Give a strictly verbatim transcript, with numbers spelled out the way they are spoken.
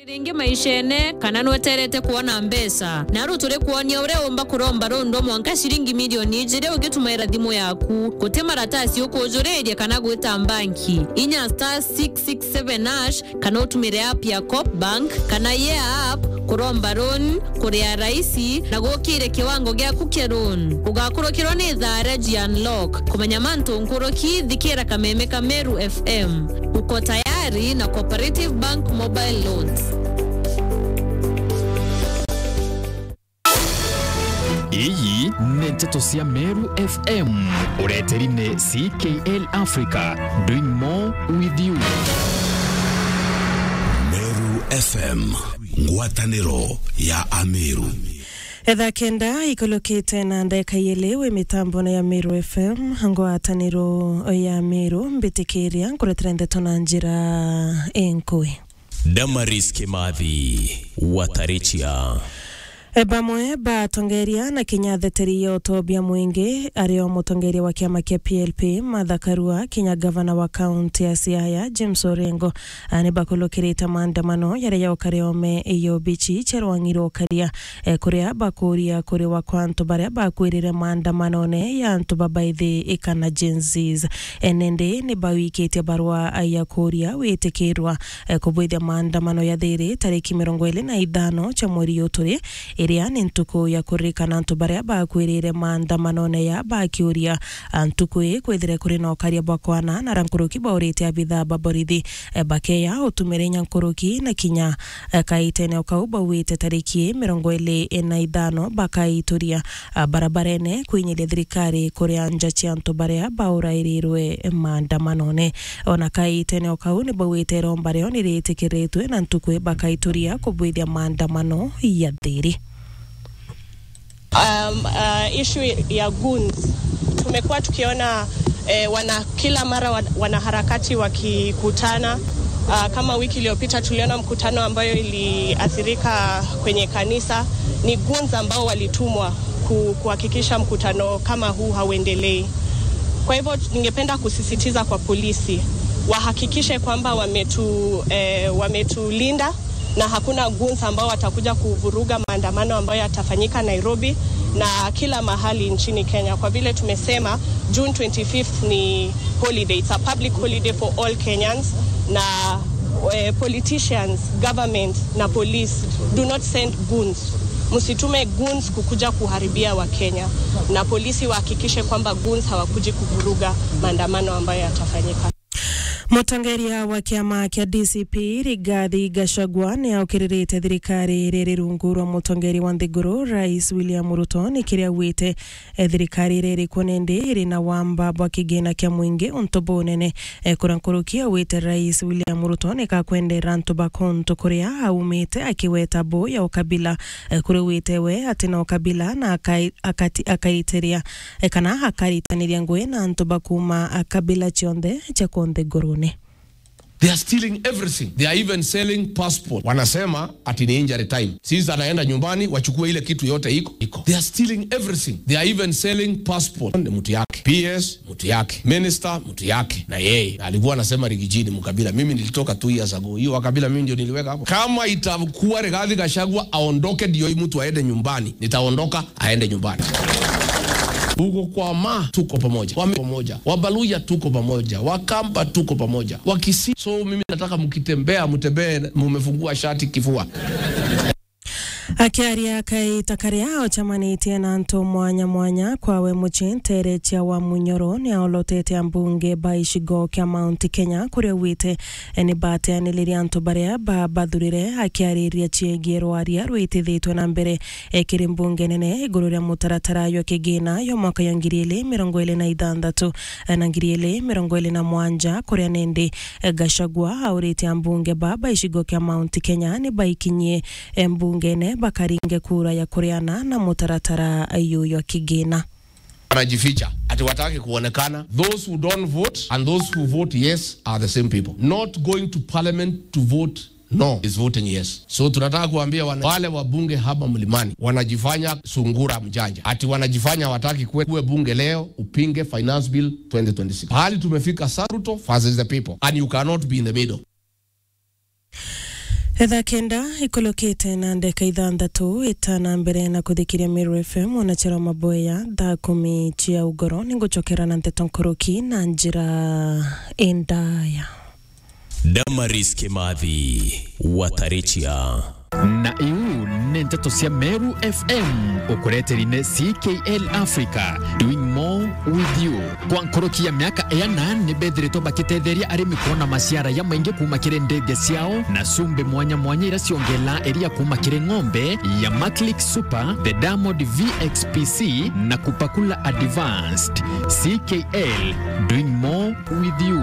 Ringi maishene, kana nweterete kwona mbeca? Naru turi kwonia uria umba kuromba rundu mwanka ciringi milioni ijiri ugitumaira thimu yaku. Guti maratasi ukujuriria kana gwita mbanki. Inya star six six seven hash, kana utumire app ya Coop Bank kana Yeah app kuromba loan, kuria raisi na gukire kiwango giaku kia loan. Ugakurukirwa ni thaa ria ji unlock. Kumenya mantu nkuruki, thikira kameme ka Meru F M. Uko tayari na Cooperative Bank Mobile Loans. Iyi ni nteto cia Meru F M. Ureteri ni C K L Africa, doing more with you. Meru F M, ngwataniro ya Ameru. Etha kenda ikulukite na ndeka yeli wi mitambone ya Meru F M, ngwataniro ya Meru, mbitikiria nkuretera ndeto na njira inkui. Damaris Kimathi, Watarichia. E, bamwe batongeria na kinya theteri ya utobia mwingi, ario mutongeria wa kiama kia P L P, Martha Karua, kinya gavana wa kaunti ya Siaya, James Orengo, a, ni bakulukirite maandamano yaria yaukare ome iyo bichi cherwang'irwo ukaria, e, kuria bakuria kuriwa kwa antu baria bakwirire maandamanone ya antu babaithi ikana Gen Zs. E, nindi ni bawikitie barua ya kuria witikirwa, e, kubwithia maandamano ya thiri tariki mirongo iri na ithano cia mweri uyu turi, iria ni ntuku ya kuririkana antu baria bakwirire maandamanone ya bakiuria, a, ntuku ii kwithire kuri na ukaria bwa kwana na ra nkuruki baurite abithaa ba borithi, e, bakeya utumire inya nkuruki na kinya, e, kaitene o kau bauite tariki mirongo iri na ithano bakaituria, a, barabarene kwinyiria thirikari kuria nja cia antu baria baurairirwe maandamanone. Ona kaitene o kau ni bauite iromba rio ni ritikiritwe na ntuku bakaituria kubwithia maandamano ya thiri. Um, uh, issue ya goons. Tumekuwa tukiona, eh, wana-, kila mara wa-, wanaharakati wakikutana. Uh, kama wiki iliyopita tuliona mkutano ambayo iliathirika kwenye kanisa. Ni goons ambao walitumwa ku-, kuhakikisha mkutano kama huu hauendelei. Kwa hivyo ningependa kusisitiza kwa polisi wahakikishe kwamba wametu-, eh, wametulinda na hakuna goons ambao watakuja kuvuruga maandamano ambayo yatafanyika Nairobi na kila mahali nchini Kenya. Kwa vile tumesema June twenty-fifth ni holiday, it's a public holiday for all Kenyans, na, eh, politicians, government na police, do not send goons. Msitume goons kukuja kuharibia Wakenya, na polisi wahakikishe kwamba goons hawakuji kuvuruga maandamano ambayo yatafanyika. Mutongeria wa kiama kia D C P, Rigathi Gachagua, ni aukiririte thirikari iri rungu rwa mutongeria wa nthiguru, Rais William Ruto, ni kiria augite, e, thirikari iri irikwo nindi iri na wamba bwa kigina kia mwingi untu bunene. E, kura nkuruki augite Rais William Ruto ni kakwendera antu ba kuntu kuria aumite, akiweta bu ya ukabila, e, kuria augite we ati na ukabila na akai-, akati-, akaitiria, e, kana akaritaniria ngui na antu ba kuuma, a, kabila cionthe cia ku nthigurune. They are stealing everything. They are even selling passport. Wanasema ati ni injury time. Sisi anaenda nyumbani, wachukue ile kitu yote iko, iko. They are stealing everything. They are even selling passport. Ni mtu yake. P S, mtu yake. Minister, mtu yake. Na yeye alikuwa anasema Rigiji ni mkabila. Mimi nilitoka two years ago. Hiyo wakabila mimi ndio niliweka hapo. Kama itakuwa Rigathi Gachagua aondoke ndio hii mtu aende nyumbani, nitaondoka aende nyumbani. Huko kwa Ma tuko pamoja. Wame pamoja. Wabaluya tuko pamoja. Wakamba tuko pamoja. Wakisii. So mimi nataka mkitembea, mtembee mumefungua shati kifua. Akiaria kaita karia ocemanitie na antu mwanya mwanya kwawe mucii ntere cia wa Munyoro, ni aolotete ambunge ba icigo kia Mount Kenya kuria augite, e, ni bateaniririe antu baria babathurire. Akiariria ciegie rwaria rwitithitwe na mbere, e, kiri mbunge nene iguru ria mutaratara jwa kigina jwa mwaka jwa ngiri ili mirongo ili na ithanthatu, e, na ngiri ili mirongo ili na mwanja, kuria nindi, e, Gachagua aurite ambunge ba ba icigo kia Mount Kenya ni baikinyie, e, mbungene bakaringe kura ya kuriana na mutaratara juju jwa kigina. Wanajificha ati wataki kuonekana. Those who don't vote and those who vote yes are the same people. Not going to parliament to vote no is voting yes. So tunataka kuambia wana, wale wabunge hapa Mlimani wanajifanya sungura mjanja, ati wanajifanya wataki kuwe, kuwe bunge leo upinge finance bill twenty twenty-six. Pahali tumefika, Saruto versus the people, and you cannot be in the middle. Thaa kenda ikulukite na ndeka ithanthatu, itana mbere na kuthikiria Meru F M, ona chero maboya thaa kumi cia ugoro, ningucokera na nteto nkuruki na njira indaya. Damaris Kimathi, Watarichia. Na iu ni nteto cia Meru F M, ukureteri ni C K L Africa, doing more with you. Kwa nkuruki ya miaka iana, ni bethiritwe bakitetheria arimi kwona maciara ya maingi kuuma kiri ndege ciao na cumbi mwanya mwanya iria ciongela iria kuuma kiri ng'ombe ya Maclick Super, the Diamond V X P C na Kupakula Advanced. C K L, doing more with you.